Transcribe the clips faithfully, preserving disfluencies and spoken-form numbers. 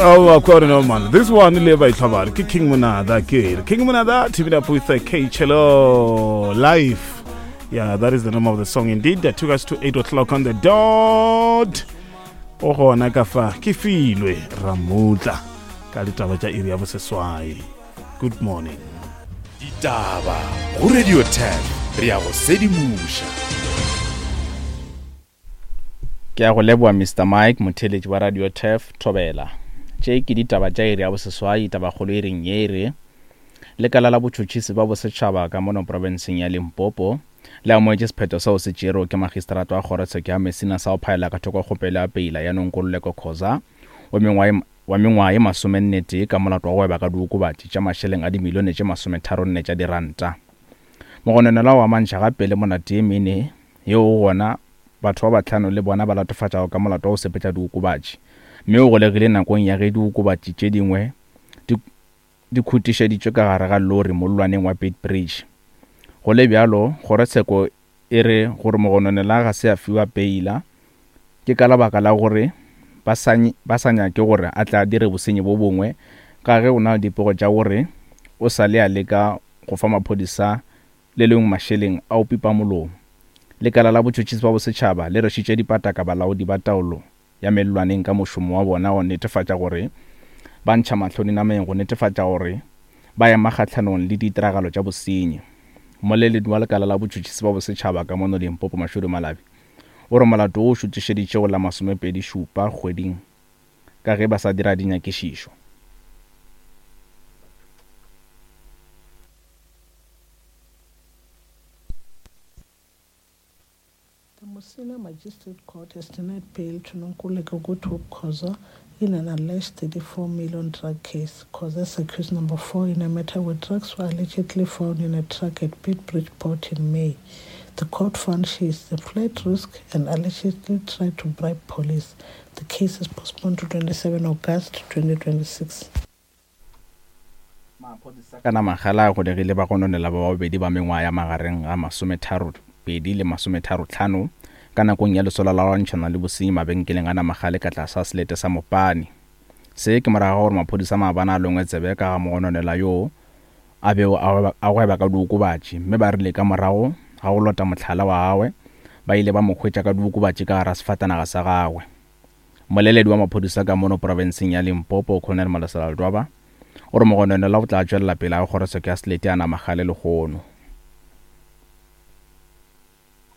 Oh, of no man. This one le ba itlhabare ke King Monada ke. King Monada teaming up with K Chelo live. Yeah, that is the name of the song indeed. That took us to eight o'clock on the dot. O gona ka fa ke filwe Ramutla ka ditaba tša iri ya boseswai. Good morning. Ditaba go Radio ten re ya go sedimoša. Ke a go leboa Mister Mike, motheeletši wa Radio Turf Thobela. Tše ke ditaba tša iri ya boseswai, tabakgolo e reng ye e re lekala la botšhotšhisi ba bosetšhaba ka mono profenseng ya Limpopo le amoetše sephetho seo se tšerwego ke magistrata wa kgorotsheko ya Messina sa go phaela ka thoko kgopelo ya peila ya Nonkululeko Khoza wa mengwaga wa mengwaga ye masomennetee ka molato wa go gweba ka diokobatši tša mašeleng a dimilione tše masometharonne tša diranta. Mogononelwa o amantšha gape le monate ye mene yeo go gona batho ba bahlano le bona ba latofatšago ka molato wa go sepetša diokobatši, mme o golegile nakong ya ge diokobatši tše dingwe di di khutišeditšwe ka gare ga lori mollwaneng wa Beitbridge. Go le bjalo, kgorotsheko e re gore mogononela ga se a fiwa peila ke ka lebaka la gore ba sa ba sa nyake gore a tle a dire bosenyi bo bongwe ka ge o na le dipego tša gore o sa le a leka go fa maphodisa le lengwe mašeleng a o pipa molomo. Lekala la botšhotšhisi ba bosetšhaba le rwešitše dipataka balaodi ba taolo ya mellwaneng ka mošomo wa bona go netefatša gore ba ntšha mahlo dinameng go netefatša gore ba ema kgahlanong le ditiragalo tša bosenyi. Mmoleledi wa lekala la botšhotšhisi ba bosetšhaba ka mono Limpopo Mashudu Malabi o re molato wo o šutišeditše go la masomepedi šupa kgweding ka ge ba sa dira dinyakišišo. The Musina Magistrate Court has denied bail to Nonkululeko Goodhope Khoza in an alleged thirty-four million drug case. Khoza is accused number four in a matter where drugs were allegedly found in a truck at Beitbridge Port in May. The court found she is a flight risk and allegedly tried to bribe police. The case is postponed to twenty-seven August twenty twenty-six. Maphodisa ka Namagala a golegile bagononelwa ba babedi ba mengwaga ya magareng ga masometharo pedi le masometharo tlhano ka nakong ya lesolo la go lwantšhana le bosenyi mabenkeleng a Namagale ka tlase ga selete sa Mopani. Se ke morago ga gore maphodisa maabane a longwe tsebe ka ga mogononelwa yoo a bego a gweba ka diokobatši, mme ba rile ka morago ga go lota mohlala wa gagwe ba ile ba mo hwetša ka diokobatši ka gare ga sefatanaga sa gagwe. Mmoleledi wa maphodisa ka mono profenseng ya Limpopo Colonel Malesela Ledwaba o re mogononelwa o tla tšwelela pele ga kgorotsheko ya selete ya Namagale lehono.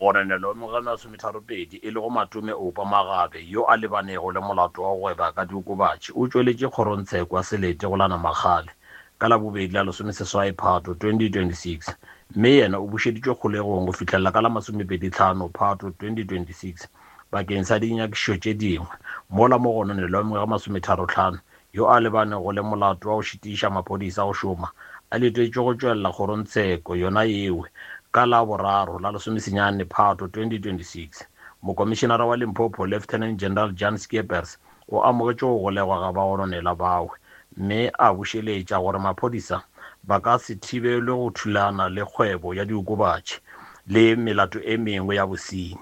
Mogononelwa wa mengwaga ye masometharopedi e lego Matome Oupa Magabe yo a lebanego le molato wa go gweba ka diokobatši o tšweletše kgorotsheko ya selete go la Namagale ka Labobedi la lesomeseswai Phato twenty twenty-six, mme yena o bušeditšwe kgolegong go fihlela ka la masomepedi tlhano Phato twenty twenty-six bakeng sa dinyakišišo tše dingwe, mola mogononelwa wa mengwaga masometharo tlhano yo a lebanego le molato wa go šitiša maphodisa go šoma a letetšwe go tšwelela kgorotsheko yona yeo ka la boraro la lesomesenyane Phato twenty twenty-six. Mokomišenara wa Limpopo Lieutenant General Jan Skeepers o amogetše go golegwa ga bagononelwa bao, mme a bušeletša gore maphodisa ba ka se thibelwe go thulana le kgwebo ya diokobatši le melato e mengwe ya bosenyi.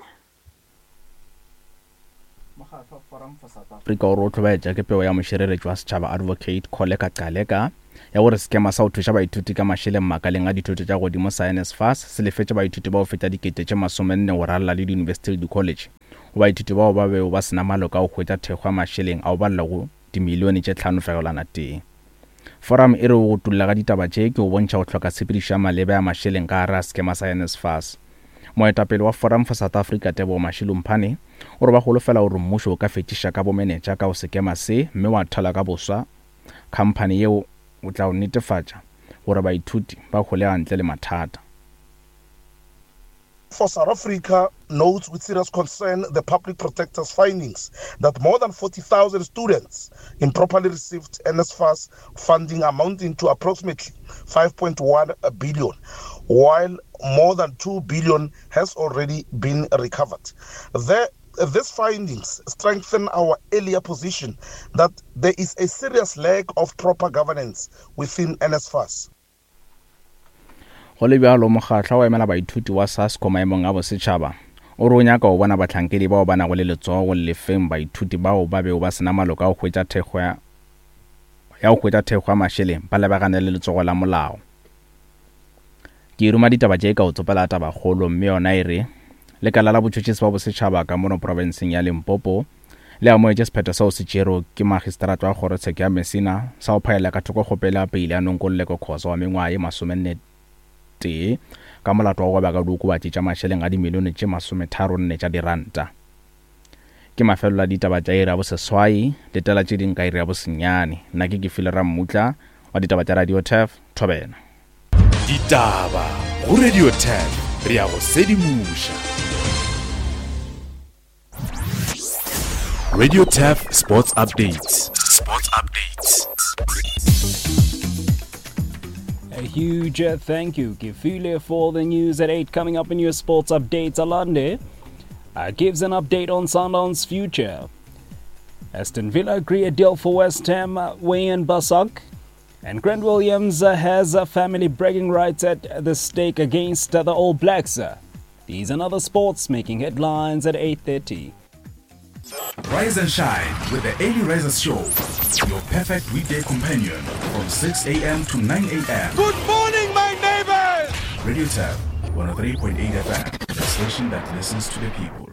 Mokgatlo wa Forum for South Africa o re o hlobaetša ke pego ya mošireletši wa setšhaba Advocate Kholeka Gcaleka ya gore sekema sa go thuša baithuti ka mašeleng makaleng a dithuto tša godimo sa NSFAS se lefetše baithuti bao feta dikete tše masomenne go ralala le diyunibesithi le di-college. Go baithuti bao ba bego ba sena maloka a go hwetša thekgo ya mašeleng ao ba llego dimilione tše tlhano fegelwana tee. Forum e re go tulla ga ditaba tše ke go bontšha go hloka tshepedišo ya maleba ya mašeleng ka gare ga sekema sa NSFAS. Moetapele wa Forum for South Africa Tebogo Mashilo Mphane o re ba holofela gore mmušo o ka fetšiša ka bomenetša ka go sekema se mme wa thala ka boswa khamphani yeo o tla o netefatša gore baithuti ba holega ntle le mathata. For South Africa notes with serious concern the public protector's findings that more than forty thousand students improperly received NSFAS funding amounting to approximately five point one billion, while more than two billion has already been recovered. The, these findings strengthen our earlier position that there is a serious lack of proper governance within NSFAS. Go le bjalo, mokgatlo wa emela baithuti wa SASCO maemong a bosetšhaba o re o nyaka go bona bahlankedi bao ba nago le letsogo go lefeng baithuti bao ba bego ba sena maloka a go hwetša thekgo ya ya go hwetša thekgo ya mašeleng ba lebagane le letsogo la molao. Ke ruma ditaba tše ka o tsopela tabakgolo mme yona e re lekala la botšhotšhisi ba bosetšhaba ka mono profenseng ya Limpopo le amogetše sephetho seo se tšerwego ke magistrata wa kgorotsheko ya Messina sa go phaela ka thoko kgopelo ya peile ya Nonkululeko Khoza wa mengwaga ye masomenne tee ka molato wa go gweba ka diokobatši tša mašeleng a dimilione tše masometharonne tša diranta. Ke mafelelo a ditaba tša iri ya boseswai, letela tše ding ka iri ya bosenyane. Nna ke Kefile Rammutla wa ditaba tša Radio Turf, Thobela. Ditaba go Radio Turf, re ya go sedimoša. Radio Turf Sports Updates. Sports Updates. A huge thank you, Kefile, for the news at eight. Coming up in your sports updates, Alande uh, gives an update on Sundowns' future. Aston Villa agree a deal for West Ham, uh, Wayne Basak. And Grant Williams uh, has a family bragging rights at the stake against uh, the All Blacks. These and other sports making headlines at eight thirty. Rise and shine with the Early Risers Show, your perfect weekday companion from six a.m. to nine a.m. Good morning, my neighbors! Radio Turf, one oh three point eight F M, the station that listens to the people.